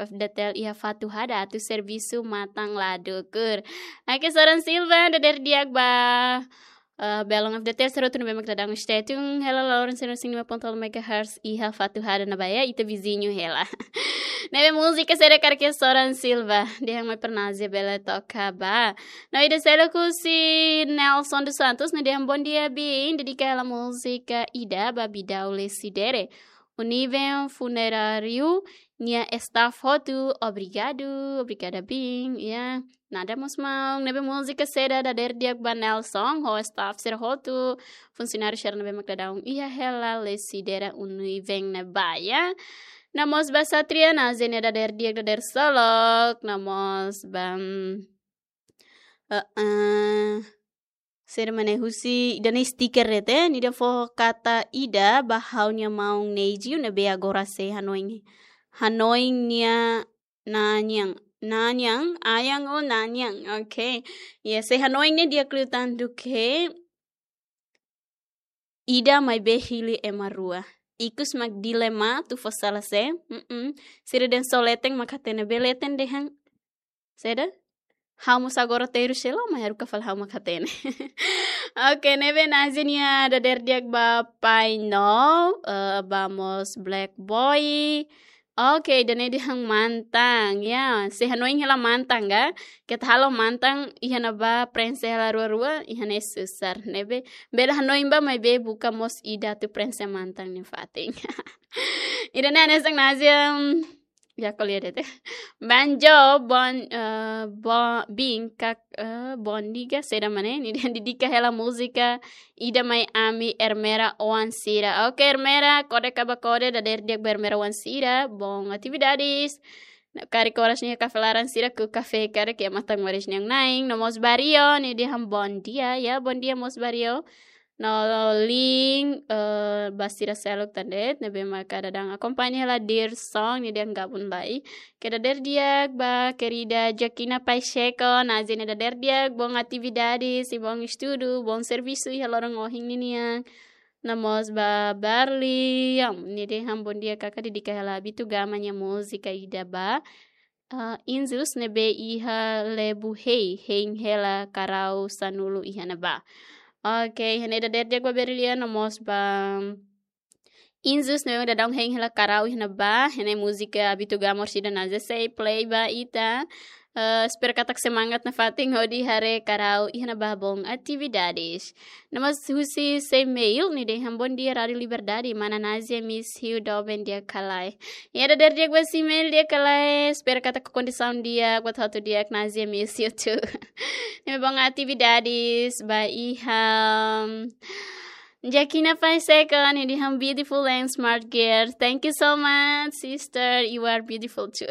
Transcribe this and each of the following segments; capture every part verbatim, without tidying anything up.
F D T L iha Fatuhada atu servisu matan la dukur. Oke, Soran Silva, dadeer di'ak ba, eh, belun F D T L sira hotu ne'ebé mak daudaun stay tune hela loron cento e cinco ponto nol megahertz iha Fatuhada ne'ebá, ita viziñu hela. Ne'ebé múzika saida karik iha Soran Silva, dehan mai para Nazia bele toka ba. No ida seluk husi Nelson dos Santos, ne'e dehan: "Bom dia, Bin. Dedika hela múzika ida ba Bidau Lecidere, Univen Funeráriu nia staff hotu. Obrigadu." Obrigada, Bin. Ya, nada mós maun. Ne'ebé múzika saida, dadeer di'ak ba Nelson ho staff sira hotu, funsionáriu sira ne'ebé mak daudaun iha hela Lecidere Univen ne'ebá, ya. No mós ba Satria, Nazia nia dadeer di'ak, dadeer solok. No mós ba, mm, eh, eh, saida mak ne'e, husi ida-ne'e stiker de'it, eh, nia dehan fó kata ida ba ha'u-nia maun Neji ne'ebé agora sei hanoin, hanoin nia nanian, nanian, ayan ou nanian. Oke. Ya, sei hanoin ne'e di'ak liután duké ida maibé hili ema rua. Ikus mak dilema, atu fó sala sé. Mm-mm. Sira dehan só leten mak hatene, be leten dehan saida? Ha'u mós agora terus selo, mas haruka fali ha'u mak hatene. Oke, ne'ebé Nazia nia dadeer di'ak ba Pai No, eh, ba mós Black Boy. Oke, ida-ne'e dehan mantan, ya. Sei hanoin hela mantan ka? Keta halo mantan iha ne'ebá preenxe hela rua-rua, iha ne'e susar. Ne'ebé bele hanoin ba, maibé buka mós ida atu preenxe mantan nia fatin. Ida-ne'e hanesan Nazia, mm, ya, ko'alia de'it. Banjo, bon, eh, bo-, Bin, kak, eh, bom dia, saida mak ne'e, nia dehan dedika hela múzika ida mai ami Ermera oan sira. Oke, Ermera, kode ka ba kode, dadeer di'ak ba Ermera oan sira, bon atividades. Karik oras ne'e kafé laran sira ku kafé karik iha matan moris nian na'in. No mós Bario, nia dehan bom dia, ya, bom dia mós Bario. No link, eh, ba sira seluk tan de'it ne'ebé maka daudaun akompaña hela Dear Song, nia dehan gabung lai. Oke, dadeer di'ak ba querida Joaquina Pacheco, Nazia nia dadeer di'ak, bon atividades, i bon estudu, bon servisu iha loron ohin ninian. No mós ba Barli, ya, nia dehan bom dia kaka, dedika hela Abito Gama nia múzika ida ba, ah, Inzus ne'ebé iha Lebu Hei, hein hela karau sanulu iha ne'ebá. Oke, iha ne'e dadeer di'ak ba Berlian, no mós ba Inzus ne'ebé daudaun hein hela karau iha ne'ebá, iha ne'e múzika Abito Gama orsida Nazia sei play ba ita. Eh, espera katak semangat nafatin hodi haree karau iha ne'ebá, bon atividades. No mós husi Semail, nia dehan bom dia Rádio Liberdade, mana Nazia, miss you, doben di'ak ka lae. Ya, dadeer di'ak ba Semail, di'ak ka lae, espera katak kondisaun di'ak, buat hotu di'ak, Nazia, miss you too. Ne'ebé bon atividades ba iha. Jakina Paiseka, nia dehan beautiful and smart girl. Thank you so much, sister. You are beautiful too.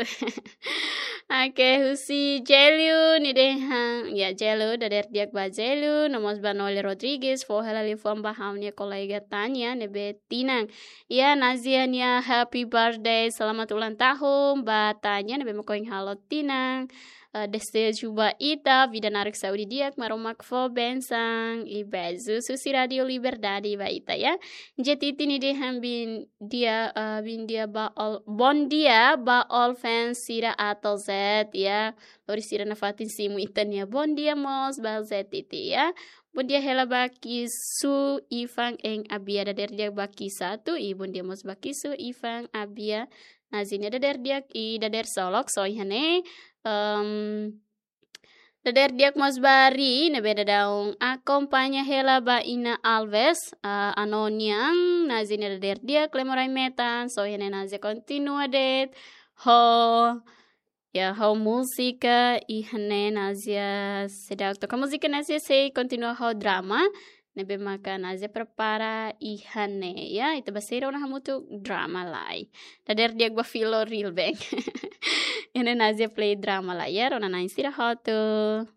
Oke, husi Jelu, nia dehan, ya, Jelu, dadeer di'ak ba Jelu, no mós ba Nole Rodrigues, fó hela liafuan ba ha'u-nia kolega Tanya, ne'ebé tinan. Ya, Nazia nia happy birthday, selamat ulang tahun ba Tanya, ne'ebé mak ohin halo tinan. Eh, deseju ba ita vida naruk, saúde di'ak, Maromak fó bensaun i beijos husi Rádio Liberdade ba ita, ya. Jetiti nia dehan bom dia, eh, bom dia ba all, bom dia ba all fans sira A to'o Z, ya. Lori sira nafatin simu ita-nia bom dia mós ba Jetiti, ya. Bom dia hela ba Kisu, Ivan and Abia, dadeer di'ak ba Kisatu, i bom dia mós ba Kisu, Ivan, Abia. Nazia nia dadeer di'ak i dadeer solok, so iha ne'e. Em, dadeer di'ak mós ba Ri, ne'ebé daudaun akompaña hela ba Ina Alves, ah, Ano nian, Nazia nia dadeer di'ak, Klemorai Metan, so iha ne'e Nazia kontinua de'it ho, ya, ho múzika, iha ne'e Nazia seidauk toka múzika, Nazia sei kontinua ho drama ne'ebé maka Nazia prepara iha ne'e, ya, ita ba sei rona hamutuk drama lai. Dadeer di'ak ba Filo Rilbeng. Iha ne'e Nazia play drama lai, ya, rona na'in sira hotu.